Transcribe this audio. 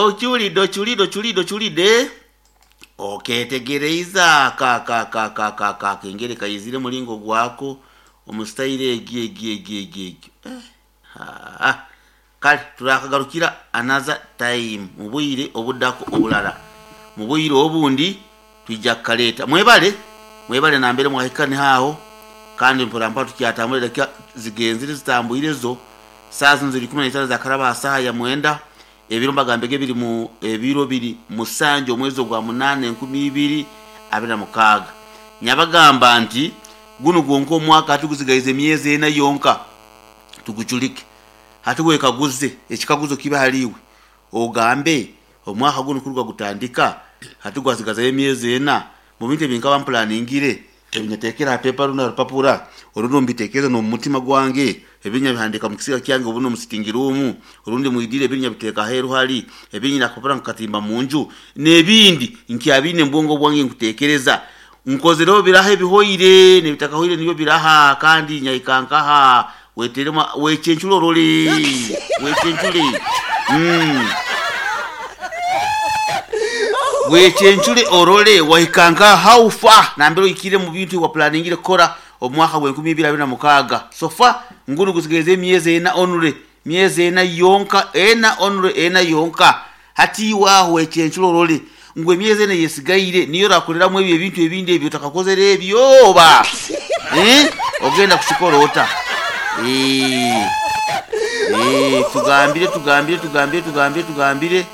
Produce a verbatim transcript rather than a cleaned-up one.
Okiwulidde, okiwulidde, okiwulidde, okiwulidde, oketegereize aka aka aka aka aka aka akengere kaizire muringo gwako omu sitayiro egi egi egi egi egi. Eh, haa. Kale turakagarukira another time, mu bwire obuddako obulala, mu bwire obundi twija kukareeta. Mwebale, mwebale nambere mwahika niho aho, kandi mpora mpora tukyatambura, edakika zigenzire zitambwire zo. Saa zino ziri ikumi na itaano zakaraba aha saaha ya mwenda. Ebiro mbagambege biri mu ebiro biri musanju omwezi ogwa munaana enkumi ibiri abiri na mukaaga. Nyabagamba nti gunu gwonka omwaka hati guzigaize emyezi ena yonka tugucurike. Hati wekaguze, ekikaguzo kibe ahariiwe, ogambe omwaka gunu kuruga gutandika hati gwasigazayo emyezi ena, mu bintu ebi nkaba mplaningire, ebi nyateekere aha pepa rundi aha rupapura orundi omu bitekerezo n'omu mutima gwange, ebi nyabihandiika mu kisiga kyange obundi omu sitting room, orundi mwidire ebindi nyabiteeka aheeru hari, ebindi nyine akapapura nkakatimba mu nju, n'ebindi nkyabiine mu bwongo bwange nkuteekereza. Nkozireho biraha ebihoire n'ebitakahoire nibyo biraha, kandi nyahika nkaha weteremu wechencure orore wechencure mm. Wechencure orore wahika nkaha, how far nambere ohikire mu bintu waplaningire kukora omwaka gw'enkumi ibiri abiri na mukaaga. So far ngunu gusigaize emyezi ena only, myezi ena yonka, ena only, ena yonka. Hati iwe aho wechencure orore ngu emyezi ena eyesigaire niyo orakoreramu ebyo ebintu ebindi ebyo otakakozere ebyo oba eh? Ogenda kukikora ota? Eh, eh, tugambire, tugambire, tugambire, tugambire, tugambire.